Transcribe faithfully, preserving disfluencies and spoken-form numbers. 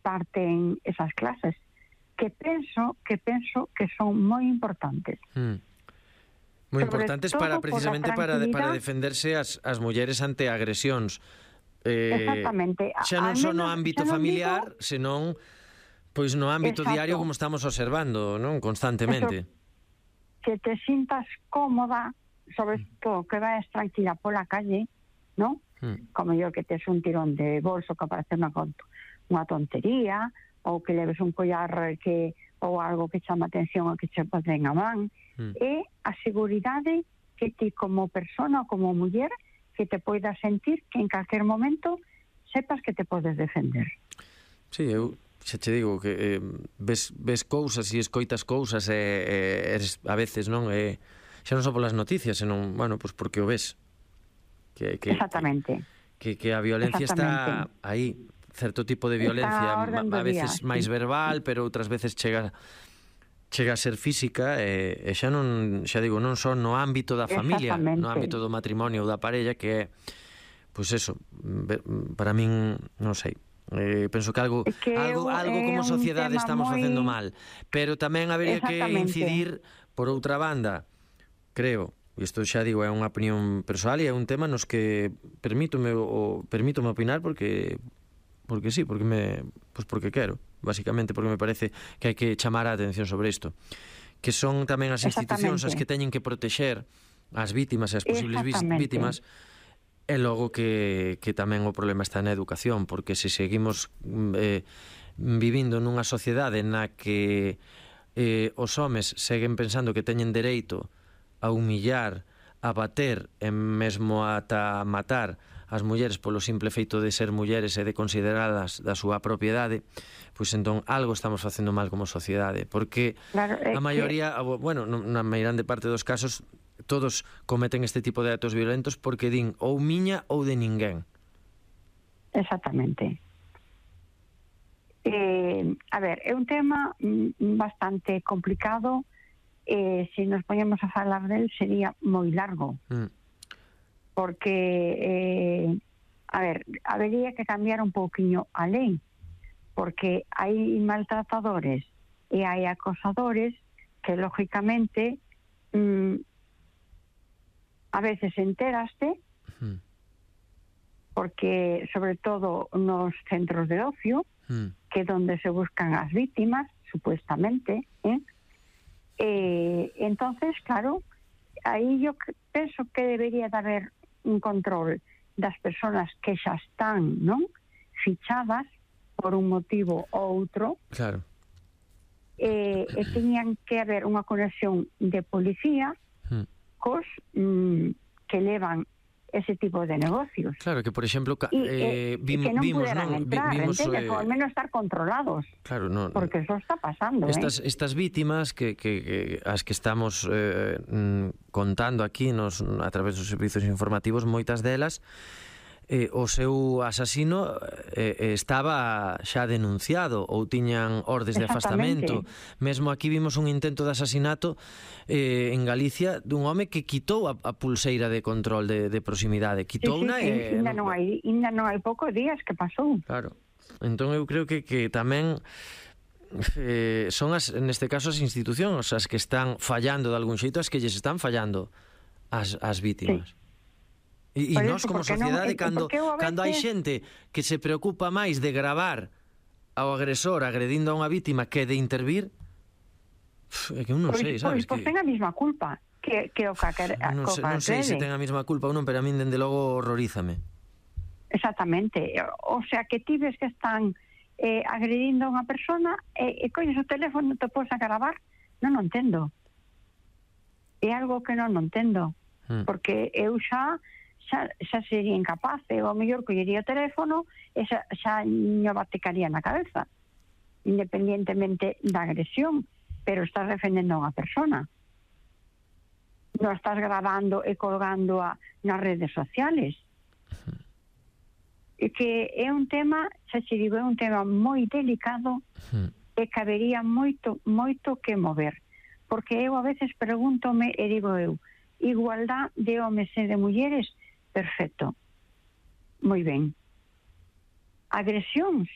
imparten esas clases, que penso que penso que son moi importantes. Mm. Moi importantes para precisamente para, para defenderse as, as mulleres ante agresións. Eh, Exactamente. Xa non só no menos, ámbito non familiar, digo, senón pois no ámbito exacto, diario, como estamos observando, non? Constantemente. Eso, que te sintas cómoda, sobre todo que vayas tranquila pola calle, ¿no? Mm. Como yo, que tes un tirón de bolso que parece unha, unha tontería, ou que leves un collar que ou algo que chama atención a que che poden a man, mm. e a seguridade que ti como persona ou como muller que te poidas sentir que en calquer momento sepas que te podes defender. Sí, eu xa che digo que eh, ves, ves cousas e escoitas cousas e eh, eres, a veces non é, xa non só polas noticias, senón, bueno, pois porque o ves que, que, exactamente que, que, que a violencia está aí, certo tipo de violencia a, a veces día, máis sí. verbal, pero outras veces chega chega a ser física e, e xa non, xa digo, non só no ámbito da familia, no ámbito do matrimonio ou da parella, que é, pois eso, para min, non sei, eh, penso que algo que algo, algo como sociedade estamos moi... facendo mal, pero tamén habería que incidir por outra banda, creo, e isto xa digo, é unha opinión persoal e é un tema nos que permítome o permítome opinar porque porque sí, porque me pues porque quero, basicamente porque me parece que hai que chamar a atención sobre isto, que son tamén as institucións as que teñen que protexer as vítimas e as posibles vítimas, e logo que, que tamén o problema está na educación, porque se seguimos eh, vivindo nunha sociedade na que eh, os homes seguen pensando que teñen dereito a humillar, a bater e mesmo ata matar as mulleres polo simple feito de ser mulleres e de consideradas da súa propiedade, pois entón algo estamos facendo mal como sociedade, porque claro, a maioría, que... bueno, na meirande parte dos casos, todos cometen este tipo de actos violentos porque din ou miña ou de ninguén. Exactamente. Eh, a ver, é un tema bastante complicado, eh, se nos poñemos a falar del sería moi largo. Mm. Porque, eh, a ver, habería que cambiar un pouquiño a lei, porque hai maltratadores e hai acosadores que, lógicamente, mm, a veces enteraste, mm. porque, sobre todo, nos centros de ocio, mm. que é donde se buscan as víctimas, supuestamente, eh? Eh, entonces, claro, aí yo penso que debería de haber un control das persoas que xa están, non, fichadas por un motivo ou outro. Claro. E, e teñan que haber unha conexión de policía hmm. cos mm, que levan ese tipo de negocios. Claro, que por exemplo y, eh, vim, que non vimos, puderan non, entrar, vimos, entende? Eh, Por menos estar controlados. Claro, no, porque eso está pasando, estas, eh? estas vítimas que, que, que as que estamos eh, contando aquí nos, a través dos servizos informativos, moitas delas eh, o seu asasino eh, estaba xa denunciado ou tiñan ordes de afastamento. Mesmo aquí vimos un intento de asasinato eh, en Galicia dun home que quitou a, a pulseira de control de, de proximidade. Quitou sí, sí, unha sí, e... Ainda non hai, ainda non hai poucos días que pasou. Claro. Entón eu creo que, que tamén eh, son as, neste caso as institucións as que están fallando de algún xeito, as que lles están fallando as, as vítimas. Sí. E, e nós como sociedade, non, cando, veces... cando hai xente que se preocupa máis de gravar ao agresor agredindo a unha vítima que de intervir, é que eu non pois, sei, sabes? Pois, pois que... ten a mesma culpa que, que o que a, non, sei, non sei se ten a mesma culpa ou non, pero a min dende logo horrorízame. Exactamente. O sea, que ti ves que están eh, agredindo a unha persona e, e coñes o teléfono, te podes a gravar, non o entendo. É algo que non o entendo. Hmm. Porque eu xa xa, xa sería incapaz, eu ao mellor collería o teléfono e xa, xa me baticaría na cabeza, independientemente da agresión, pero estás defendendo a unha persona, non estás grabando e colgando a, nas redes sociales. E que é un tema, xa se digo, é un tema moi delicado e cabería moito, moito que mover, porque eu a veces pregúntome e digo eu, igualdad de homes e de mulleres, perfecto, moi ben. Agresións,